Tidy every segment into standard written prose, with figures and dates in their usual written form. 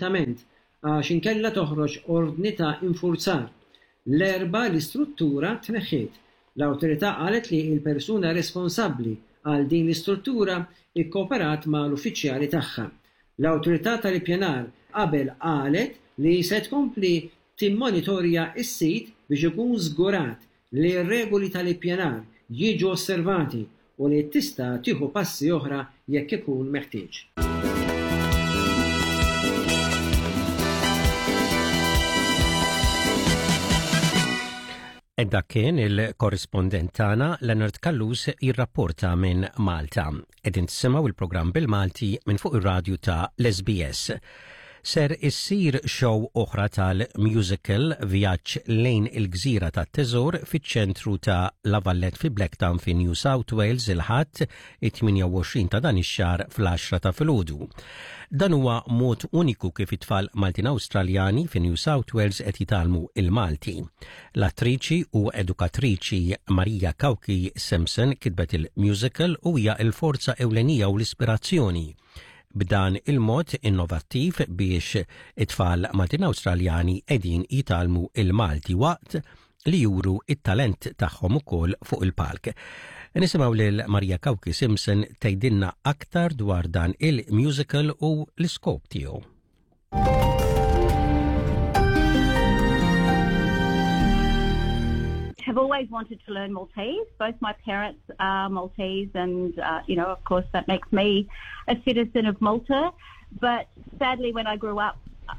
immedjatament għax inkella toħroġ ordni ta' infurzar. L-Erbgħa l-istruttura tneħħiet. L-awtorità qalet li l-persuna responsabbli għal din l-istruttura kkooperat mal-uffiċjali tagħha. L-Awtorità tal-Ippjanar qabel qalet li se tkompli timmonitorja s-sit biex ikun żgurat li r-regoli tal-ippjanar jiġu osservati u li tista' tieħu passi oħra jekk ikun meħtieġ. Dak kien il-korrispondent tagħna Leonard Callus jirrapporta minn Malta. Qegħdin tisimgħu il-programm bil-Malti minn fuq ir-radju ta' l-SBS. Ser issir show oħra tal-musical Vjaġġ lejn il-Gżira tat-Teżor fiċ-ċentru ta' La Valette fi Blacktown fi New South Wales il-Ħadd it-28 ta' dan ix-xahar fl-għaxra ta' filgħodu. Dan huwa mod uniku kif it-tfal Maltin Awstraljani fi New South Wales qed jitgħallmu il-Malti. L-attriċi u edukatriċi Maria Cauchi Simpson kitbet il-musical u hija l-forza ewlenija u l-ispirazzjoni B'dan il-mod innovattiv biex it-tfal Maltin Awstraljani qegħdin jitgħallmu il-Malti waqt li juru it-talent tagħhom ukoll fuq il-palk. Nisimgħu lil Maria Cauchi Simpson tgħidilna aktar dwar dan il-musical u l-iskop tiegħu. Have always wanted to learn Maltese. Both my parents are Maltese, and, uh, you know, of course, that makes me a citizen of Malta. But sadly, when I grew up,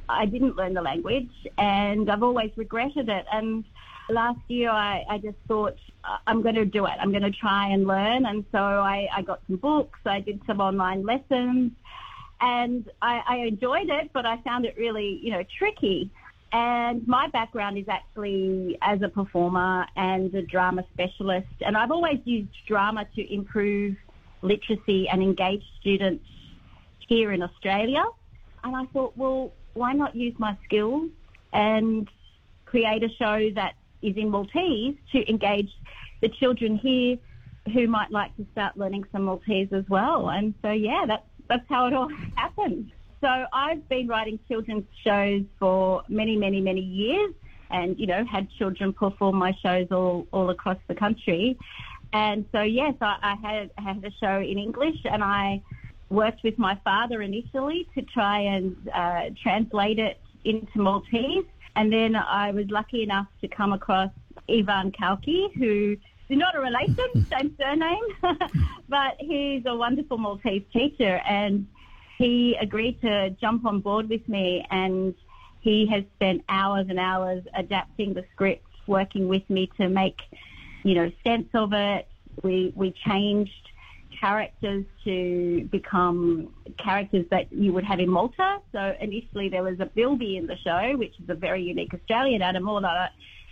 I didn't learn the language, and I've always regretted it. And last year, I, I just thought, I'm going to do it. I'm going to try and learn. And so I, I got some books, I did some online lessons, and I, I enjoyed it, but I found it really, you know, tricky. And my background is actually as a performer and a drama specialist. And I've always used drama to improve literacy and engage students here in Australia. And I thought, well, why not use my skills and create a show that is in Maltese to engage the children here who might like to start learning some Maltese as well. And so, yeah, that's, that's how it all happened. So I've been writing children's shows for many, many, many years and, you know, had children perform my shows all, all across the country. And so, yes, I, I had, had a show in English and I worked with my father initially to try and uh, translate it into Maltese. And then I was lucky enough to come across Ivan Cauchi, who is not a relation, same surname, but he's a wonderful Maltese teacher. And he agreed to jump on board with me and he has spent hours and hours adapting the script, working with me to make, you know, sense of it. We, we changed characters to become characters that you would have in Malta. So initially there was a bilby in the show, which is a very unique Australian animal.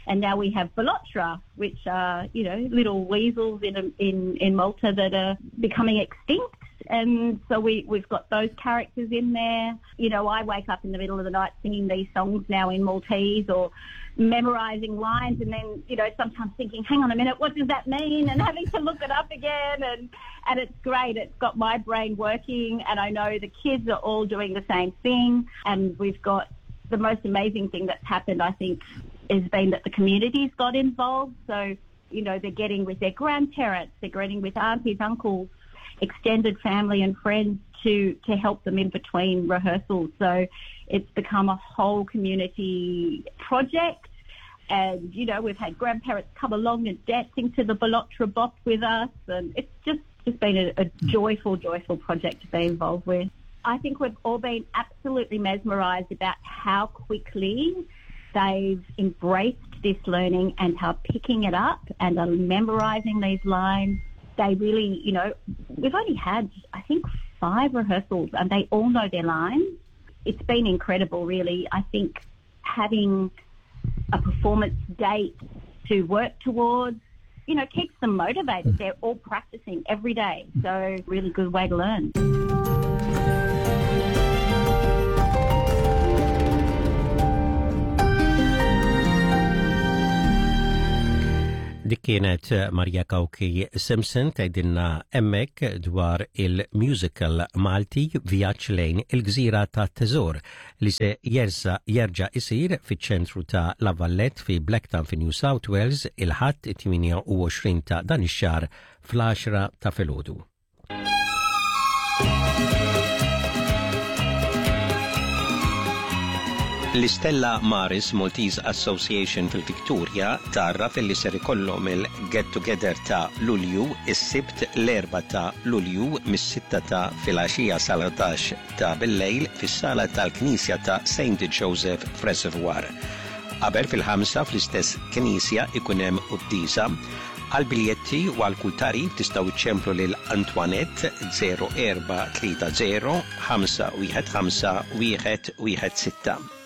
And now we have Balotra, which are, you know, little weasels in, in, in Malta that are becoming extinct. And so we, we've got those characters in there. You know, I wake up in the middle of the night singing these songs now in Maltese or memorizing lines and then, you know, sometimes thinking, hang on a minute, what does that mean? And having to look it up again. And, and it's great. It's got my brain working and I know the kids are all doing the same thing. And we've got the most amazing thing that's happened, I think, has been that the community's got involved. So, you know, they're getting with their grandparents, they're getting with aunties, uncles, extended family and friends to, to help them in between rehearsals. So it's become a whole community project. And, you know, we've had grandparents come along and dancing to the Balotra Bop with us. And it's just, just been a, a joyful, joyful project to be involved with. I think we've all been absolutely mesmerised about how quickly they've embraced this learning and how picking it up and are memorising these lines. They really, you know, we've only had, I think, five rehearsals and they all know their lines. It's been incredible, really. I think having a performance date to work towards, you know, keeps them motivated. They're all practicing every day. So, really good way to learn. Dik Dik kienet Maria Cauchi Simpson tgħidilna hemmhekk dwar il-musical Malti Vjaġġ lejn il-Gżira tat-Teżor li se jersa jerġa' isir fiċ-ċentru ta' La Vallette fi Blacktown fi New South Wales il-Ħadd 28 ta' dan ix-xahar fl-għaxra ta' filgħodu. L-Istella Maris Maltese Association fil-Victoria tgħarraf illi ser ikollhom il-Get Together ta' Lulju is-Sibt l-Erbgħa ta' Lulju mis-sitta ta' filgħaxija sal-11 ta' billejl fis-sala tal-Knisja ta' Saint Joseph f'Reservoir. Qabel fil-ħamsa fl-istess knisja ikun hemm quddiesa Għal biljetti u għal kull tagħrif tistgħu iċċemplu lil Antoinette 0430 515 116.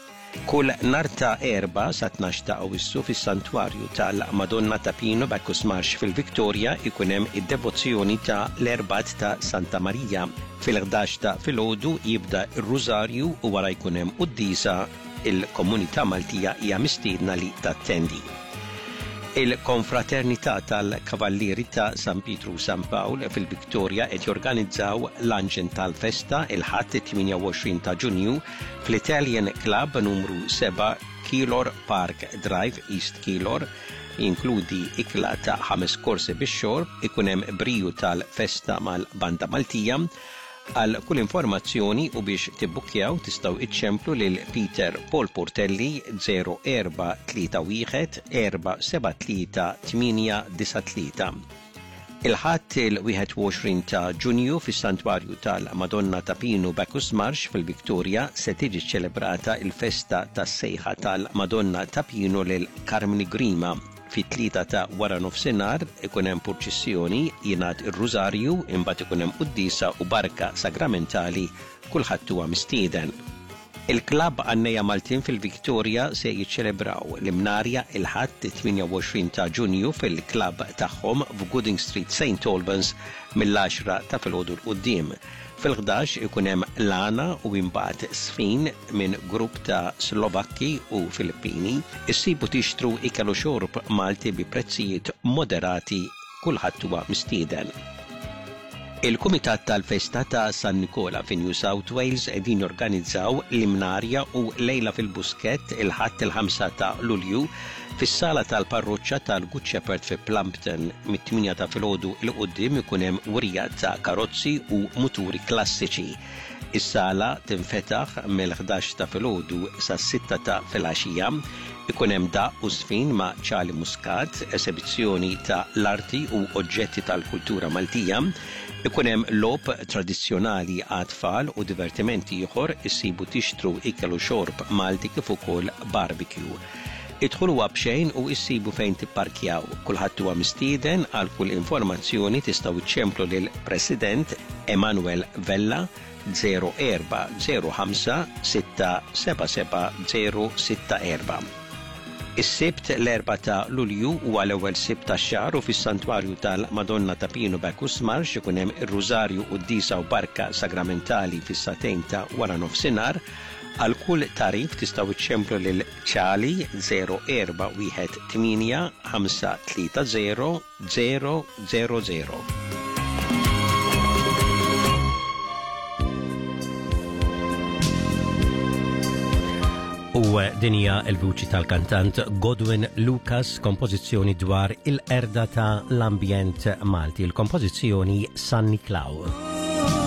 Kull nhar ta' Erbgħa sat-tnax ta' Awwissu fis-Santwarju tal-Madonna ta' Pino Bacchus Marsh fil-Victoria jkun hemm id-devozzjoni ta' l-Erbgħat ta' Santa Marija. Fil-ħdax ta' filgħodu jibda r-Rużarju u wara jkun hemm quddiesa Il-komunità Maltija hija mistiedna li tattendi. Il-Konfraternità tal-Kavallieri ta' San Pietru u San Pawl fil-Victoria qed jorganizzaw luncheon tal-festa il-Ħadd it-28 ta' Ġunju fl-Italian Club numru 7 Keilor Park Drive, East Keilor. Jinkludi ikla ta' ħames korsi bix-xorb, ikun hemm briju tal-festa mal-Banda Maltija, Għal kull informazzjoni u biex tibbukkjaw tistgħu iċċemplu lil Peter Paul Portelli 0431 473 893. Il-Ħadd il-21 ta' Ġunju fis-Santwarju tal-Madonna ta' Pinu Bacchus Marsh fil-Victoria se tiġi ċċelebrata l-festa tas-sejħa tal-Madonna ta' Pinu lil Karmni Grima. Fit-tlieta ta' waranofsinhar ikun hemm purċissjoni, jingħad ir-Rużarju, imbagħad ikun hemm quddiesa u barka sagramentali, kulħadd huwa mistieden. Il-Klabb Għannejja Maltin fil-Victoria se jiċċelebraw l-Imnarja il-Ħadd 28 ta' Ġunju fil-klabb tagħhom f'Gooding Street St Albans mill-għaxra ta' filgħodu 'l quddiem. Fil-ħdax ikun hemm l-għana u imbagħad żfin minn grupp ta' Slovakki u Filippini. Issibu tixtru ikel u xorb Malti bi prezzijiet moderati kulħadd huwa mistieden. Il-Kumitat tal-Festa ta' San Nikola fi New South Wales qegħdin jorganizzaw l-Imnarja u Lejla fil-Buskett il-Ħadd il-5 ta' Lulju fis-sala tal-Parroċċa tal-Good Shepherd fi Plumpton. Mit-tmienja ta' filgħodu 'l quddiem ikun hemm wirja ta' karozzi u muturi klassiċi. Is-sala tinfetaħ mill-ħdax ta' filgħodu sas-sitta ta' filgħaxija. Ikun hemm daqq u żfin ma' Charlie Muscat, esebizzjoni ta' l-arti u oġġetti tal-kultura Maltija. Ikun hemm logħob tradizzjonali għat-tfal u divertiment ieħor, issibu tixtru ikel u xorb Malti kif ukoll barbecue. Id-dħul huwa b'xejn u issibu fejn tipparkjaw. Kulħadd huwa mistieden, għal kull informazzjoni tistgħu iċċemplu lil President Emanuel Vella 0405 677 064. Is-Sibt l-4 ta' Lulju huwa l-ewwel Sibt tax-xahar u fis-Santwarju tal-Madonna ta' Pinu Bacchus Marsh ikun hemm ir-Rużarju, Quddiesa u Barka Sagramentali fis-sagħtejn ta' waranofsinhar. Għal kull tagħrif tistgħu iċċemplu lil Charlie 0418 530 000. U din hija l-vuċi tal-kantant Godwin Lucas, kompożizzjoni dwar il-qerda ta' l-ambjent Malti, il-kompożizzjoni San Niklaw.